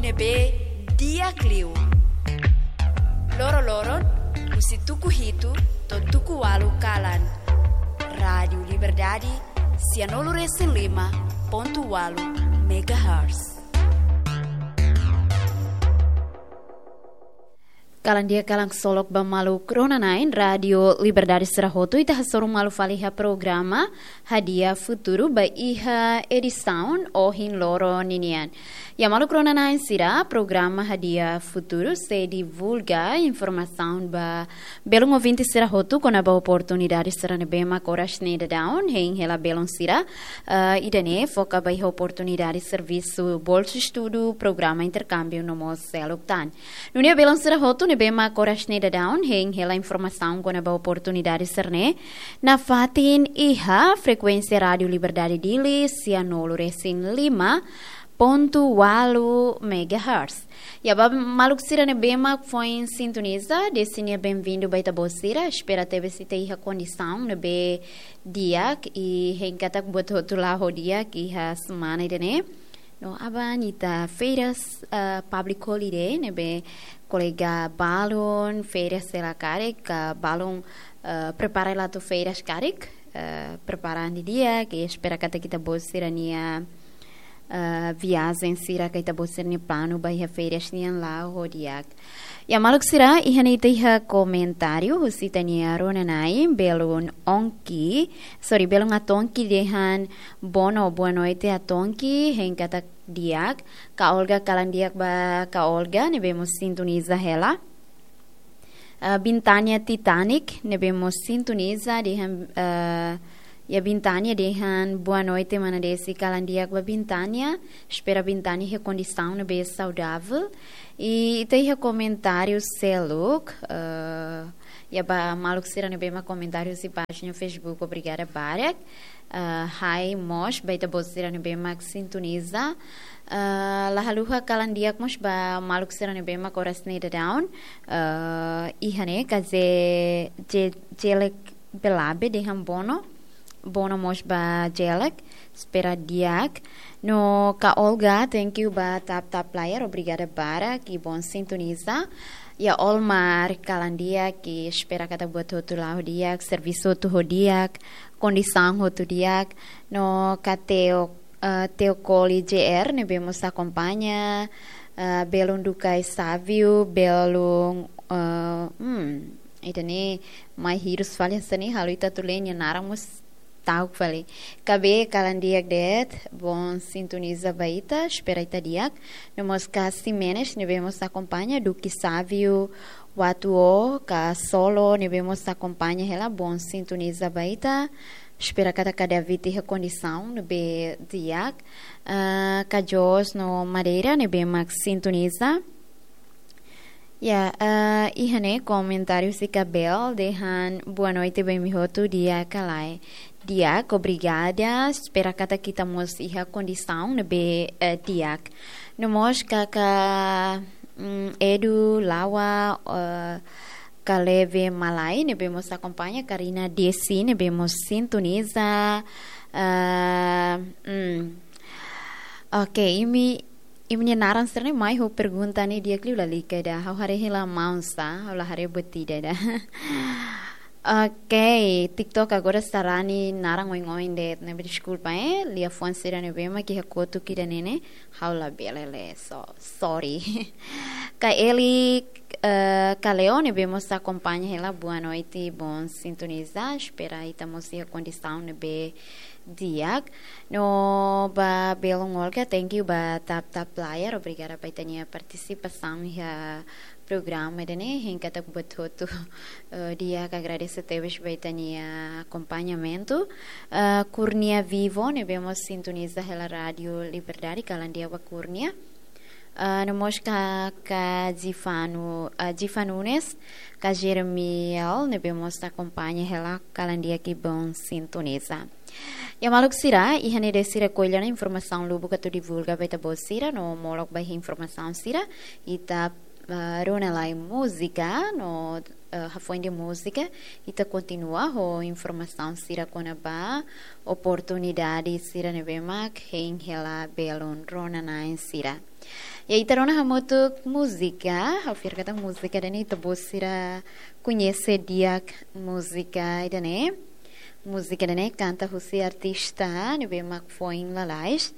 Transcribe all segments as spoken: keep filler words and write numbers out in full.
ne'ebé di'ak liu. Loroloron, husi tuku hitu to'o tuku ualu kalan. Rádiu Liberdade, sianulu resin lima pontu ualu megahertz. Kalan di'ak, kalan ksolok ba maluk rona-na'in Rádiu Liberdade sira hotu, ita hasoru malu fali iha programa Hadi'a Futuru ba iha edisaun ohin loron ninian. Ya maluk rona-na'in sira, programa Hadi'a Futuru sei divulga informasaun ba belun ouvinte sira hotu kona-ba oportunidade sira ne'ebé mak oras ne'e daudaun hein hela belun sira, eh, ida-ne'e foka ba iha oportunidade servisu, bolsu estudu, programa interkámbiu no mós seluk tan. Nune'e belun sira hotu ne'ebé mak oras ne'e daudaun hein hela informasaun kona-ba oportunidade sira-ne'e, nafatin iha frekuénsia Rádiu Liberdade Dili, sianulu resin lima pontu ualu megahertz. Ya ba maluk sira ne'ebé mak foin sintoniza, desi nia benvindu ba ita-boot sira, espera tebes ita iha kondisaun ne'ebé di'ak, i hein katak buat hotu la'o ho di'ak iha semana ida-ne'e. No aban ita férias, eh, public holiday, ne'ebé kolega balun férias hela karik, ka balun, eh, prepara hela atu férias karik, eh, prepara an didi'ak, i espera katak ita-boot sira-nia, eh, viajen sira ka ita-boot sira-nia planu ba iha férias nian la'o ho di'ak. Ya maluk sira, iha ne'e ita iha komentáriu husi ita-nia rona-na'in, belun Ongki, sorry, belun Atonki dehan: Bono, boa noite Atonki, hein katak di'ak. Ka Olga, kalan di'ak ba ka Olga, ne'ebé mós sintoniza hela. Ah, Bintania Titanic, ne'ebé mós sintoniza, dehan, ah, ya Bintania dehan: Boa noite mana Desi, kalan di'ak ba Bintania. Espera Bintania iha kondisaun ne'ebé saudável. I ita iha komentáriu seluk, eh, ya ba maluk sira ne'ebé mak komentáriu husi pájina Facebook, obrigada barak. Eh, hai mós ba ita-boot sira ne'ebé mak sintoniza. Eh, la haluha kalan di'ak mós ba maluk sira ne'ebé mak oras ne'e daudaun, eh, iha ne'e, ka Ze-, Ze-, Zelek Belabe dehan: Bono, bono mós ba Zelek, espera di'ak. No ka Olga, thank you ba tap tap player, obrigada barak, i boon sintoniza. Ya Olmar, kalan di'ak, i espera katak buat hotu la'o ho di'ak, servisu hotu ho di'ak, kondisaun hotu di'ak. No ka Teo, eh, Teo Koli J R, ne'ebé mós akompaña, eh, belun Dukai Savio, belun, eh, hmm, ida-ne'e mai hirus fali hanesan ne'e, halo ita atu lee nia naran mós ta'uk fali. Ka Be, kalan di'ak de'it, boon sintoniza ba ita, espera ita di'ak. No mós ka Ximenes, ne'ebé mós akompaña, Duki Savio, Watuo, ka Solo, ne'ebé mós akompaña hela, boon sintoniza ba ita. Espera katak David iha kondisaun ne'ebé di'ak. Ah, ka Jos no Madeira, ne'ebé mak sintoniza. Ya, eh, iha ne'e komentáriu husi ka Bel dehan: Boa noite ba imi hotu, di'ak ka lae? Di'ak, obrigada. Espera katak ita mós iha kondisaun ne'ebé, eh, di'ak. No mós ka, ka, mm, Edu Lawa, eh, Kaleve Malai, ne'ebé mós akompaña, Karina Desi, ne'ebé mós sintoniza. Eh, mm. Oke, imi, imi-nia naran sira-ne'e mai ho pergunta ne'e di'ak liu, lalika ida. Ha'u haree hela maun sá, ha'u la haree buat ida ida. Oke, TikTok agora sarani naran oin-oin de'it, ne'ebé deskulpa, eh? Liafuan sira ne'ebé mak iha kotuk ida-ne'e ne'e, ha'u labele lee, so, sorry. Ka Eli, eh, Kaleo, ne'ebé mós akompaña hela, boa noite, boon sintoniza, espera ita mós iha kondisaun ne'ebé di'ak. No ba belun Olga, thank you ba tap tap player, obrigada ba ita-nia partisipasaun iha programa ida-ne'e, hein katak buat hotu, eh, di'ak, agradese tebes ba ita-nia akompañamentu. Eh, Kurnia Vivo, ne'ebé mós sintoniza hela Rádiu Liberdade, kalan di'ak ba Kurnia. Ah, no mós ka, ka Jifanu, ah, Jifa Nunes, ka Jeremiel, ne'ebé mós akompaña hela, kalan di'ak i boon sintoniza. Ya maluk sira, iha ne'e de'it sira ko'alia ona informasaun lubuk atu divulga ba ita-boot sira, no molok ba iha informasaun sira, ita, ah, rona lai múzika, no, ah, hafoin de'it múzika, ita kontinua ho informasaun sira kona-ba oportunidade sira ne'ebé mak hein hela belun rona-na'in sira. Ya, ita rona hamutuk múzika, ha'u fiar katak múzika ida-ne'e ita-boot sira koñese di'ak múzika ida-ne'e. Múzika ida-ne'e kanta husi artista ne'ebé mak foin lalais,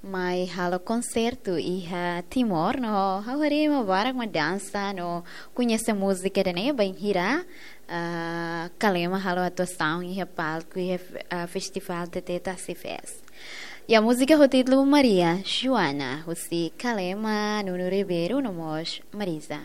mai halo konsertu iha Timor, no ha'u haree ema barak mak dansa no koñese múzika ida-ne'e bainhira, ah, Kalema halo atuasaun iha palku iha, ah, festivál T T Tasi Fest. Ya, múzika ho títulu Maria Joana, husi Kalema, Nuno Ribeiro no mós Marisa.